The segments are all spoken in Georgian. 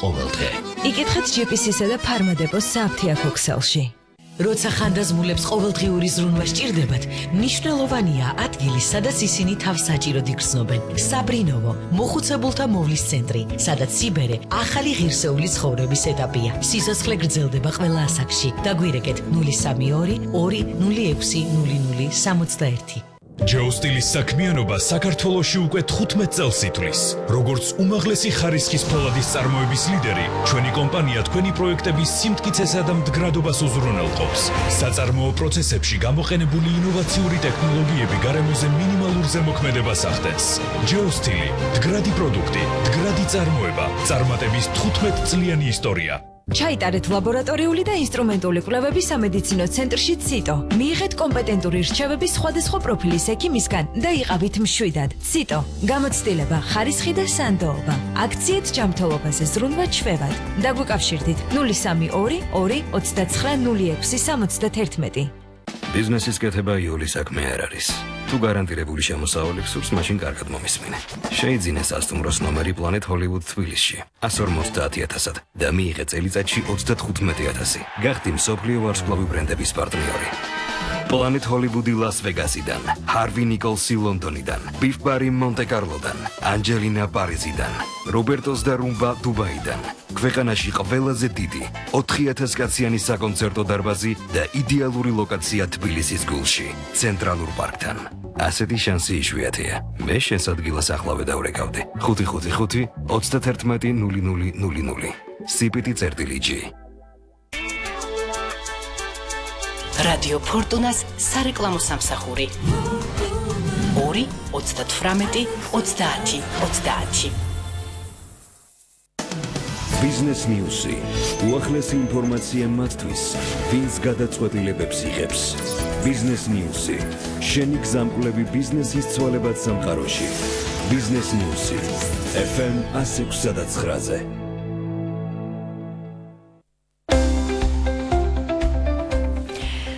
ყოველდღე. იკითხეთ GPS-ისა და ფარმადეპოს საფთიაქ ოქსელში. როცა ხანდაზმულებს ყოველდღიური ზრუნვა სჭირდებათ, მნიშვნელოვანია ადგილი, სადაც ისინი თავს საჭიროდ იგრძნობენ. საბრინოვო, მოხუცებულთა მოვლის центრი, სადაც სიბერე ახალი ღირსეული ცხოვრების ეტაპია. სიცოცხლე გრძელდება ყველა ასაკში. დაგვირეკეთ 032 206 0061. ჯეოსტილის საქმიანობა საქართველოში უკვე 15 წელს ითვლის. როგორც უმაღლესი ხარისხის ფოლადის წარმოების ლიდერი, ჩვენი კომპანია თქვენი პროექტების სიმტკიცესა და მდგრადობას უზრუნველყოფს. საწარმოო პროცესებში გამოყენებული ინოვაციური ტექნოლოგიები გარემოზე მინიმალურ ზემოქმედებას ახდენს. ჯეოსტილი, მდგრადი პროდუქტი, მდგრადი წარმოება, წარმატების 15 წლიანი ისტორია. ჩაიტარეთ ლაბორატორიული და ინსტრუმენტული კვლევები სამედიცინო ცენტრში ციტო. მიიღეთ კომპეტენტური რჩევები სხვადასხვა პროფილის ექიმისგან და იყავით მშვიდად. ციტო. გამოცდილება, ხარისხი და სანდოობა. აქციით ჯანმრთელობაზე ზრუნვა ჩვევად. დაგვიკავშირდით 032 229 0671. ბიზნესის კეთება იული საქმე არ არის. თუ გარანტირებული შემოსავალი გსურს, მაშინ კარგად მომისმინე. შეიძინე სასტუმროს ნომერი Planet Hollywood თბილისში 150,000-ად და მიიღე წელიწადში 35,000. გახდი მსოფლიო ვარსკვლავი ბრენდების პარტნიორი. Planet Hollywood-ი ლას-ვეგასიდან, Harvey Nicholsი ლონდონიდან, Biff Barry მონტე-კარლოდან, Angelina პარიზიდან, Robertos და Rumba დუბაიდან. ქვეყანაში ყველაზე დიდი 4,000 კაციანი საკონცერტო დარბაზი და იდეალური ლოკაცია თბილისის გულში, ცენტრალურ პარკთან. ასეთი შანსი იშვიათია. მე შენს ადგილას ახლავე დავრეკავდი. 555 31 0000. CPT-G. რადიო ფორტუნას სარეკლამო სამსახური 2 38 30 30. ბიზნეს ნიუსი. უახლესი ინფორმაცია მათთვის, ვინც გადაწყვეტილებებს იღებს. ბიზნეს ნიუსი. შენი გზამკვლევი ბიზნესის ცვალებად სამყაროში. ბიზნეს ნიუსი. FM 106.9-ზე.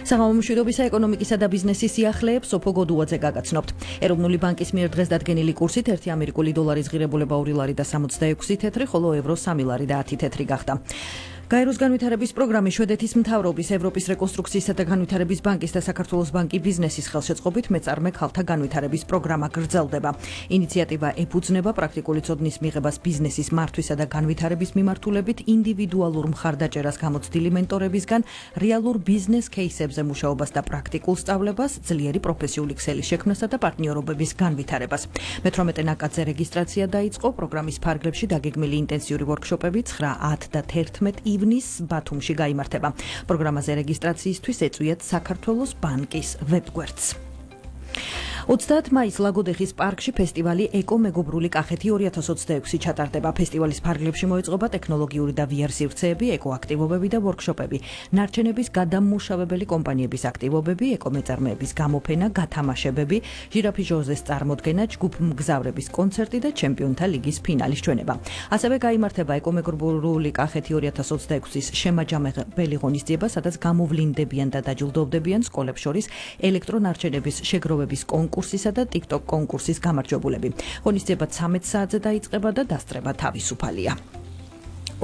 საღამო მშვიდობისა ეკონომიკისა და ბიზნესის სიახლეებს სოფო გოდუაძე გაგაცნობთ. ეროვნული ბანკის მიერ დღეს დადგენილი კურსით 1 ამერიკული დოლარის ღირებულება 2 ლარი და 66 თეთრი, ხოლო ევრო 3 ლარი და 10 თეთრი გახდა. გაეროს განვითარების პროგრამის შვედეთის მთავრობის, ევროპის რეკონსტრუქციისა და განვითარების ბანკის და საქართველოს ბანკი ბიზნესის ხელშეწყობით მეწარმე ქალთა განვითარების პროგრამა გრძელდება. ინიციატივა ეფუძნება პრაქტიკული ცოდნის მიღებას ბიზნესის მართვისა და განვითარების მიმართულებით, ინდივიდუალურ მხარდაჭერას გამოცდილი მენტორებისგან, რეალურ ბიზნეს кейსებზე მუშაობას და პრაქტიკულ სწავლებას, ძლიერი პროფესიული ქსელის შექმნასა და პარტნიორობების განვითარებას. მე-18 ნაკადზე რეგისტრაცია დაიწყო, პროგრამის ფარგლებში დაგეგმილი ინტენსიური ვორქშოპები 9, 10 და 11 ივნის ბათუმში გაიმართება. პროგრამაზე რეგისტრაციისთვის ეწვიათ საქართველოს ბანკის ვებგვერდს. 30 მაისს ლაგოდეხის პარკში ფესტივალი ეკომეგობრული კახეთი 2026 ჩატარდება. ფესტივალის ფარგლებში მოეწყობა ტექნოლოგიური და VR სივრცეები, ეკოაქტივობები და ვორქშოპები, ნარჩენების გადამმუშავებელი კომპანიების აქტივობები, ეკომეწარმეების გამოფენა, გათამაშებები, ჟირაფი ჟოზეს წარმოდგენა, ჯგუფმგზავრების კონცერტი და ჩემპიონთა ლიგის ფინალის ჩვენება. ასევე გაიმართება ეკომეგობრული კახეთი 2026-ის შემაჯამებელი ღონისძიება, სადაც გამოვლინდებიან და დაჯილდოვდებიან სკოლებს შორის ელექტრონარჩენების შეგროვების კონკურსისა და TikTok კონკურსის გამარჯვებულები. ღონისძიება 13 საათზე დაიწყება და დასწრება თავისუფალია.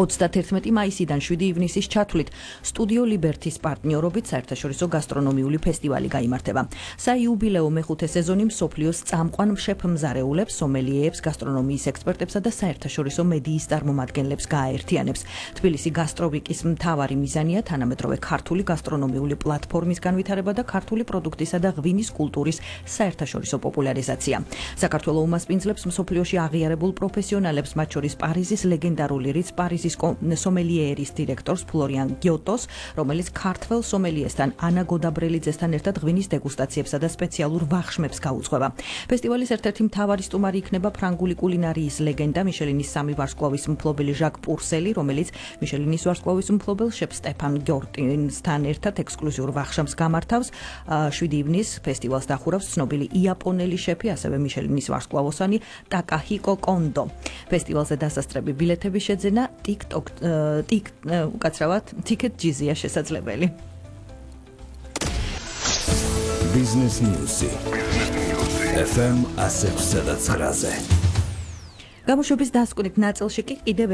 31 მაისიდან 7 ივნისის ჩათვლით სტუდიო ლიბერთის პარტნიორობით საერთაშორისო გასტრონომიული ფესტივალი გაიმართება. საიუბილეო მეხუთე სეზონი მსოფლიოს წამყვან შეფ-მზარეულებს, სომელიეებს, გასტრონომიის ექსპერტებსა და საერთაშორისო მედიის წარმომადგენლებს გააერთიანებს. თბილისი გასტროვიკის მთავარი მიზანია თანამედროვე ქართული გასტრონომიული პლატფორმის განვითარება და ქართული პროდუქტისა და ღვინის კულტურის საერთაშორისო პოპულარიზაცია. საქართველოს უმასპინძლებს მსოფლიოში აღიარებულ პროფესიონალებს, მათ შორის პარიზის ლეგენდარული რიც პარიზის სომელიერის დირექტორს ფლორიან გიოტოს, რომელიც ქართველ სომელიესთან ანა გოდაბრელიძესთან ერთად ღვინის დეგუსტაციებსა და სპეციალურ ვახშმებს გაუძღვება. ფესტივალის ერთ-ერთი მთავარი სტუმარი იქნება ფრანგული კულინარიის ლეგენდა, მიშელინის 3 ვარსკვლავის მფლობელი ჟაკ პურსელი, რომელიც მიშელინის ვარსკვლავის მფლობელ შეფ სტეფან გიორტინსთან ერთად ექსკლუზიურ ვახშამს გამართავს. 7 ივნისს ფესტივალს დახურავს ცნობილი იაპონელი შეფი, ასევე მიშელინის ვარსკვლავოსანი ტაკაჰიკო კონდო. ფესტივალზე დასასწრები ბილეთების შეძენა უკაცრავად TicketJizz-ია შესაძლებელი. Business News. FM 106.9-ზე. გამოშვების დასკვნით ნაწილში კი კიდევ